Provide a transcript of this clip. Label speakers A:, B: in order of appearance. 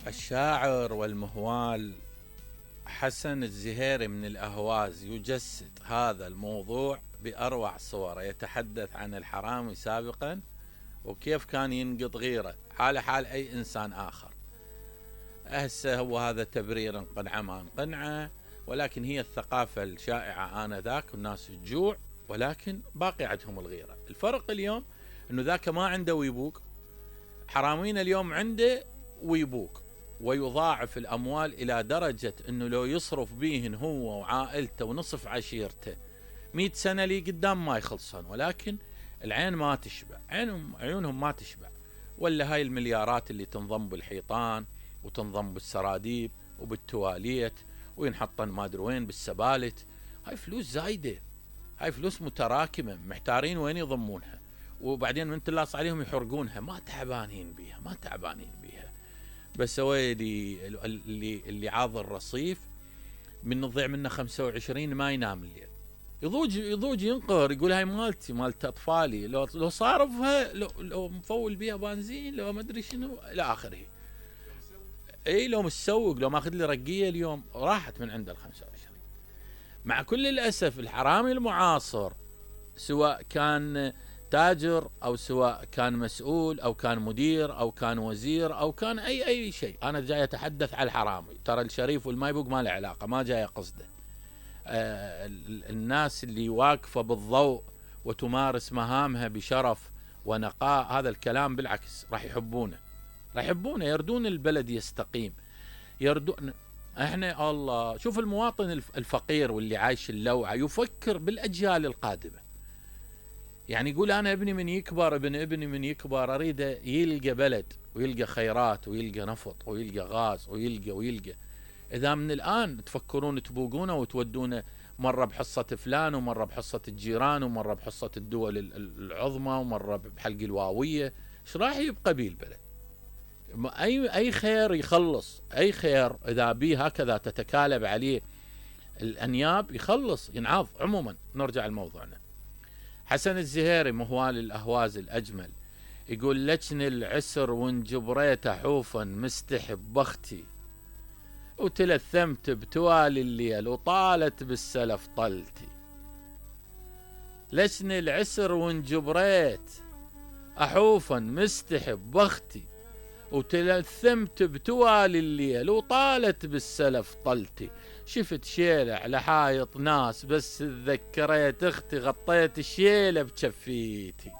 A: الشاعر والمهوال حسن الزهيري من الأهواز يجسد هذا الموضوع بأروع صوره. يتحدث عن الحرامي سابقا وكيف كان ينقض غيره حال حال أي إنسان آخر. هسه هو هذا تبرير قنعة ما قنعة، ولكن هي الثقافة الشائعة آنذاك والناس تجوع ولكن باقي عندهم الغيرة. الفرق اليوم أنه ذاك ما عنده ويبوق، حرامين اليوم عنده ويبوق ويضاعف الأموال إلى درجة أنه لو يصرف بيهن هو وعائلته ونصف عشيرته 100 سنة لي قدام ما يخلصون، ولكن العين ما تشبع، عيونهم ما تشبع. ولا هاي المليارات اللي تنضم بالحيطان وتنضم بالسراديب وبالتواليت وينحطن ما ادري وين بالسبالت، هاي فلوس زايدة، هاي فلوس متراكمة، محتارين وين يضمونها، وبعدين من تلاص عليهم يحرقونها، ما تعبانين بيها. بس هو اللي عاض الرصيف من نضيع منه 25 ما ينام الليل، يضوج ينقهر، يقول هاي مالتي مالت اطفالي، لو صارفها لو مفول بيها بنزين لو ما ادري شنو الى اخره. اي لو مسوق، لو ماخذ لي رقيه اليوم راحت من عند ال 25. مع كل الاسف الحرامي المعاصر سواء كان تاجر او سواء كان مسؤول او كان مدير او كان وزير او كان اي شيء، انا جاي اتحدث على الحرامي، ترى الشريف والمايبوق ما له علاقه، ما جاي قصده. الناس اللي واقفه بالضوء وتمارس مهامها بشرف ونقاء، هذا الكلام بالعكس راح يحبونه، يردون البلد يستقيم، يردون. احنا الله شوف المواطن الفقير واللي عايش اللوعه يفكر بالاجيال القادمه، يعني يقول انا ابن ابني من يكبر اريده يلقى بلد ويلقى خيرات ويلقى نفط ويلقى غاز ويلقى. اذا من الان تفكرون تبوقونه وتودونه مره بحصه فلان ومره بحصه الجيران ومره بحصه الدول العظمى ومره بحلق الواويه، ايش راح يبقى بيه البلد؟ اي خير يخلص، اي خير اذا بيه هكذا تتكالب عليه الانياب يخلص ينعض. عموما نرجع لموضوعنا. حسن الزهيري مهوال الأهواز الأجمل يقول لجن العسر وانجبريت حوفا مستحب بختي وتلثمت بتوالي الليل وطالت بالسلف طلتي. لجن العسر وانجبريت أحوفا مستحب بختي وتلثمت بتوالي الليل وطالت بالسلف طلتي. شفت شيلة على حايط ناس بس تذكريت اختي غطيت الشيلة بشفيتي.